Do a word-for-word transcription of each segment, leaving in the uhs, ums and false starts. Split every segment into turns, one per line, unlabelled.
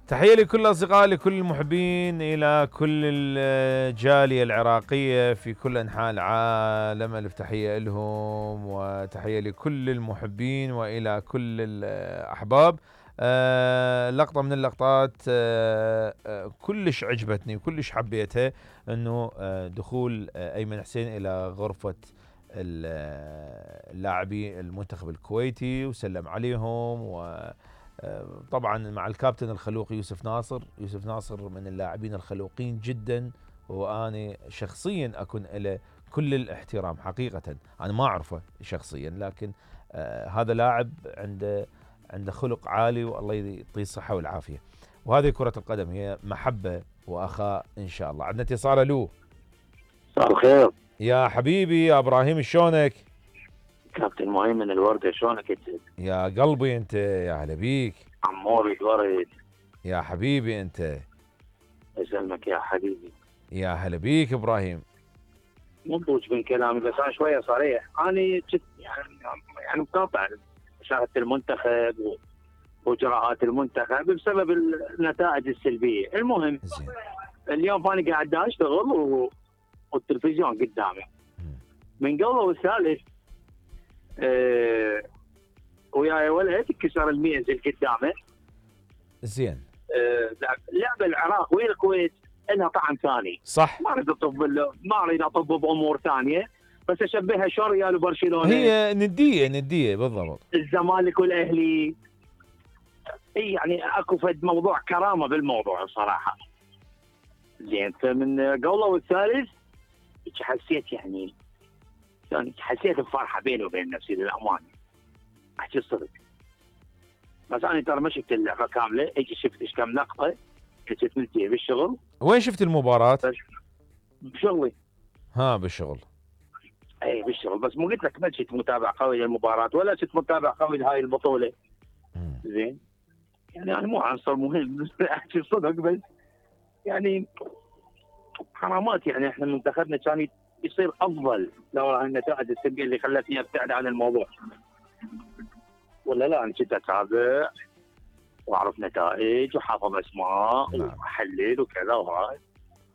تحية لكل الأصدقاء، لكل المحبين، إلى كل الجالية العراقية في كل أنحاء العالم، ألف تحية لهم، وتحية لكل المحبين وإلى كل الأحباب. آه لقطة من اللقطات آه آه كلش عجبتني وكلش حبيتها، أنه آه دخول آه أيمن حسين إلى غرفة اللاعبي المنتخب الكويتي وسلم عليهم، و طبعا مع الكابتن الخلوق يوسف ناصر. يوسف ناصر من اللاعبين الخلوقين جدا، وأنا شخصيا أكون له كل الاحترام حقيقة. أنا ما أعرفه شخصيا، لكن آه هذا لاعب عنده عنده خلق عالي، والله يعطيه الصحة والعافية. وهذه كرة القدم، هي محبة وأخاء إن شاء الله. عندنا اتصال. له
مساء الخير
يا حبيبي يا إبراهيم، شلونك؟
كابتن مؤمن الوردة، شلونك انت؟
يا قلبي انت، يا هلا بيك.
عموري الورد
يا حبيبي انت.
يسلمك يا حبيبي.
يا هلا بيك ابراهيم.
مضوج من كلامي، بس انا شويه صريح. انا جد يعني يعني مقاطع مشاهده المنتخب واجراءات المنتخب بسبب النتائج السلبيه. المهم
زين.
اليوم انا قاعد اشتغل و... والتلفزيون قدامي من قبل والثالث أه... وياي ولد كسر المية زي قدامه.
زين.
أه... لعب العراق ويا الكويت لها طعم ثاني.
صح.
ما اريد اطب ما اريد اطب بامور ثانيه، بس اشبهها شو ريال وبرشلونه.
هي نديه نديه بالضبط.
الزمالك والاهلي. اي يعني اكو فد موضوع كرامه بالموضوع الصراحه. زين. فمن قوله والثالث حسيت يعني يعني حسيت بفرحه بيني وبين نفسي للامانه. احكي الصدق. بس انا ترى ما شفت اللعبه كامله، اجي شفت ايش كم لقطه كنت ملتهي بالشغل.
وين شفت المباراه؟
بشغلي.
ها بالشغل.
اي بالشغل، بس مو قلت لك ما كنت متابع قوي للمباراه ولا كنت متابع قوي لهاي البطوله. زين. يعني انا مو عنصر مهم احكي الصدق، بس يعني حرامات. يعني احنا منتخبنا كان يصير افضل لو النتائج السلبيه اللي خلتني ابتعد عن الموضوع. ولا لا، انا كنت اتابع واعرف نتائج وحافظ اسماء واحلل وكذا وهاي.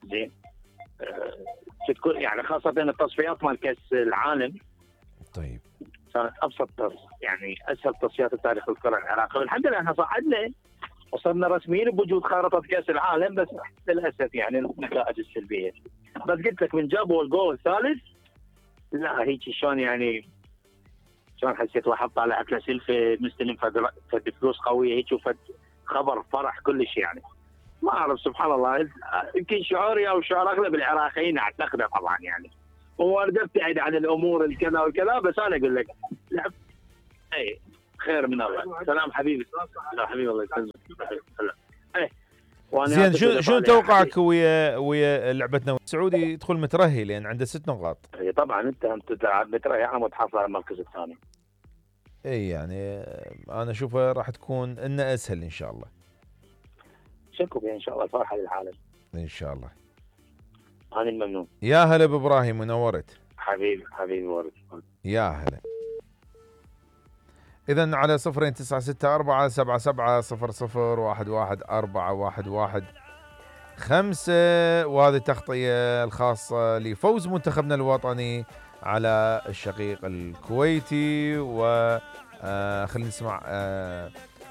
زين. أه تكون يعني خاصه التصفيات مال كاس العالم.
طيب.
كانت ابسط يعني اسهل تصفيات بتاريخ الكره العراقيه، والحمد لله احنا صعدنا وصرنا رسميين بوجود خارطه كاس العالم، بس للاسف يعني النتائج السلبيه. بس قلت لك من جابوا الجول الثالث لا هيك شلون يعني شلون حسيت واحد طالع اكله سلفه مستلم فد فلوس قويه هيك وفد خبر فرح كلش. يعني ما اعرف سبحان الله، يمكن شعوري او شعور اغلب العراقيين اعتقده طبعا يعني. وارد ابتعد عن الامور الكذا والكذا، بس انا اقول لك لعب اي خير من الله. سلام حبيبي. لا حبيبي الله يسلمك. ايه
زين. شو شو توقعك ويا ويا لعبتنا؟ السعودي يدخل مترهي لان عنده ست نقاط.
اي طبعا انت انت تلعب مترهي عم تحصل على المركز الثاني.
اي يعني انا اشوفها راح تكون ان اسهل ان شاء الله.
شكو بها ان شاء الله، الفرحه للعالم
ان شاء الله.
انا الممنون.
يا هلا بابراهيم، منورت
حبيبي حبيبي ورد.
يا هلا. إذن على صفرين تسعة ستة أربعة سبعة سبعة صفر صفر واحد واحد أربعة واحد واحد خمسة، وهذه التغطية الخاصة لفوز منتخبنا الوطني على الشقيق الكويتي. وخلينا نسمع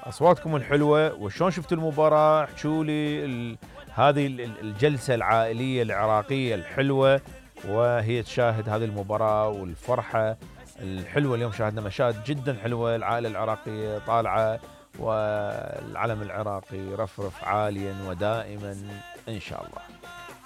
أصواتكم الحلوة وشون شفتوا المباراة. احكوا لي هذه الجلسة العائلية العراقية الحلوة وهي تشاهد هذه المباراة والفرحة الحلوة. اليوم شاهدنا مشاهد جدا حلوة، العائلة العراقية طالعة والعلم العراقي رفرف عاليا ودائما إن شاء الله.